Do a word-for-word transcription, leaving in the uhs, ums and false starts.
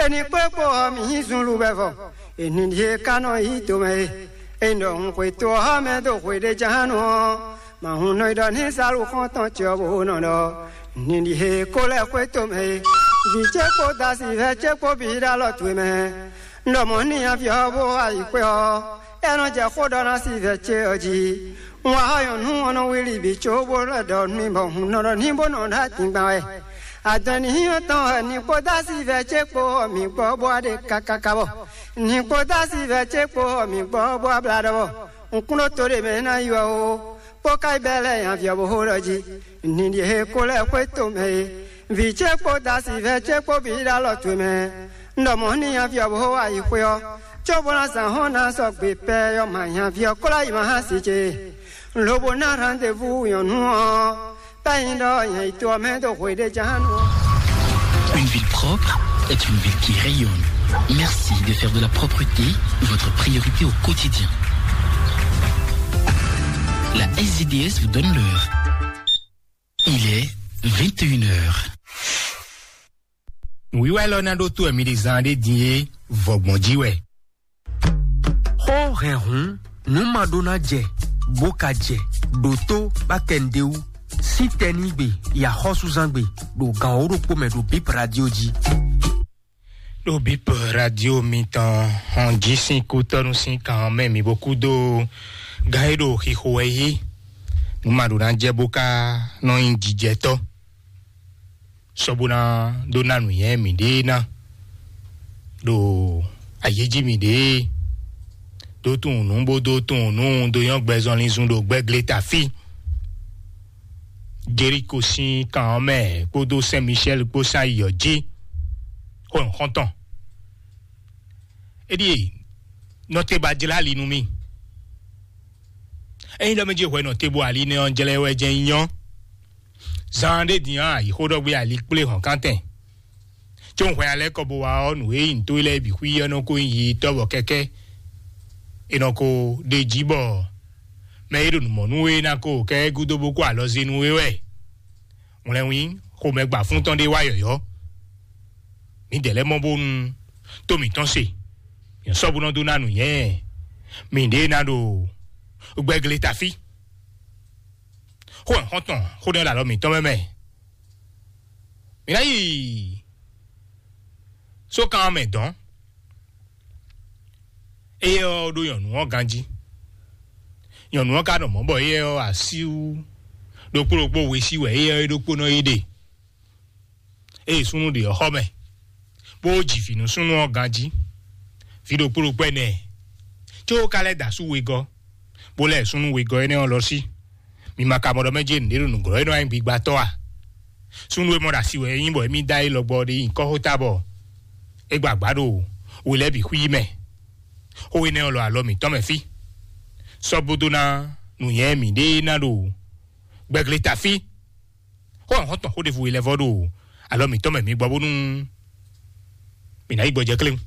Eni kpó kpó ɔ́, mǐ nyí zunluvɛvɔ. Eni ɖíe ka nɔ yí tomɛ e. Eni ɖɔ hun xwetó ɔ́ mɛ dó xwe ɖé ján nú ɔ́, ma hun nɔ yi ɖɔ ní Salu xɔ́ntɔn ce ɔ́ bó nɔ ɖɔ: Eni ɖíe ko lɛ́ xwé tomɛ e. Vǐ ce kpó dasivɛ́ ce kpó bǐ ɖo alɔ towe mɛ. Un ɖɔ mɔ̌ n'i aví ɔ́ bó wá yi xwé ɔ́, é nɔ jɛ xó ɖɔ ná si vɛ ce ɔ́ jí. Un wá xɔ nyɔ̌nu ɔ́ nɔ wlí bǐ có bó lɛ́ ɖɔ n'i bɔ hun nɔ ɖɔ ní bó nɔ ɖo adingban wɛ. Adɔn ní nyí ɔ́ tɔn wɛ ní kpó dó asi vɛ ce kpó ɔ́ mǐ gbɔ bó wá ɖe kákáká bɔ ní kpó dó asi vɛ ce kpó ɔ́ mǐ gbɔ bó wá blá ɖɔ bɔ un kún ɖó to ɖé mɛ ná yi wɛ o. Kpó ka yi bɛ́ lɛ́ nyaví ɔ́ bó xó ɖɔ jí. Ní ɖíe ko lɛ́ xwé tomɛ e. Vǐ ce kpó dasivɛ́ ce kpó bǐ ɖo alɔ towe mɛ. Un ɖɔ mɔ̌ n'i nyaví ɔ́ bó xo ayixwé ɔ́, cóbó ná zǎn hɔn ná sɔgbe pɛ ɔ́ ma nyaví ɔ́ kó lɛ́ yi ma hán si ce. Lobo ná rendez-vous nyɔ̌nu ɔ́, bɛ́ nyi ɖɔ nyɛ yi to ɔ́ mɛ dó hwe ɖé ján nú ɔ́. Une ville propre est une ville qui rayonne. Merci de faire de la propreté votre priorité au quotidien. La S D D S vous donne l'heure. Il est vingt et une heures. Nǔwiwa élɔ́ ná ɖó tó wɛ mi ɖi zan ɖé din é, vɔgbɔn jí wɛ. Xó hɛnhun nǔ ma ɖó ná jɛ bó ka jɛ ɖo tó bá kɛ nɖé wú. Sín tɛnígbe yi axɔ́súzángbe ɖo gǎn wǒ ɖokpó mɛ ɖo Bíp Radio jí. Ɖo Bíp Radio mitɔn hɔn jí sín kútɔ́nú sín kan ɔ́ mɛ mi bó kú dó gán e ɖo xixo wɛ yí. Nǔ ma ɖó ná jɛ bó ka nɔ nyi jijɛtɔ́. Sɔ bó ná dó ná nǔnywɛ́ mǐɖée ná ɖo ayéjí mǐɖée. Dó tunwun nǔ bó dó tunwun nǔ dó nyɔ́ gbɛzɔnlin zun ɖo gbɛ́glé tafí. Jeriko sín kan ɔ́ mɛ kpódó Sɛn Michɛ́l kpó sán yi ɔ́ jí. Xó nǔxɔ́ntɔn. É ɖíe nɔtɛba jlá ali nú mì. Ényí ɖɔ mɛ jí hwɛ nɔ te bo ali nɛ ɔ́ jlɛ́ wɛ jɛ́n nyí nyɔ́. Zan ɖé din ɔ́, ayǐxóɖɔgbé ali kplé hɔ̌nkántɛn. Có un hwɛ alɛ́ kɔ bo wá ɔ́, nǔ e nyí nǔtó lɛ́ɛ bǐ xwí ɔ́ nɔ ko nyí yi tɔ́ bɔ kɛ́kɛ́ è nɔ ko ɖe jí bɔ mɛ e ɖo nǔ mɔ nú we ná ko kɛ gúdo bó kó alɔ zé nú we wɛ. Wlɛnwí xomɛ gba fún tɔn ɖé wá yɔ̌yɔ́. Mǐdɛɛ lɛ́ɛ mɔ bónú tó mǐtɔn se, nyɛ sɔ́ bó nɔ dó ná nǔ nyɛ mǐɖée ná ɖo gbɛ́glé tafí. Xó ɛ xɔ́ntɔn xó nɛ́ ɖo alɔ mǐtɔn mɛ mɛ. Mǐ ná yi sókan ɔ́ mɛ dɔ̌n. Éyɛ́ ɔ́ ɖó nyɔ̌nu ɔ́ ganjí. Nyɔ̌nu ɔ́ ka nɔ mɔ̌ bɔ éyɛ́ ɔ́ asíwú ɖokpó ɖokpó we sí wɛ éyɛ́ ɔ́ é ɖokpónɔ yi ɖe. Ée súnnu ɖě ɔ́ xɔ mɛ, bó ji vǐ nú súnnu ɔ́ ganjí. Vǐ ɖokpó ɖokpó ɛnɛ, có ka lɛ́ da asú wegɔ́, bó lɛ́ súnnu wegɔ́ énɛ́ ɔ́ lɔ sí. Mi ma ka mɔ ɖɔ mɛ jɛ́n nǔɖé ɖo nǔglɔ́ e nɔ wá nyí gbigbatɔ́ a? Súnnu e mɔ ɖo asi wɛ é nyí bɔ émí dó ayé lɔgbɔ ɖé nyi kɔ́xota bɔ é gba agba ɖo we lɛ́ɛ bǐ xwí mɛ. Xó énɛ́ ɔ́ lɔ alɔ mǐtɔn mɛ fí. Sɔ́ bó dó ná nǔnyɛ mǐɖée ná ɖo gbɛglé tafí. Xó ɔ́ hɔn tɔn xó ɖěvo e lɛ́ vɔ ɖo alɔ mǐtɔn mɛ mi gbɔ bónú mǐ ná yi gbɔjɛ kléwún.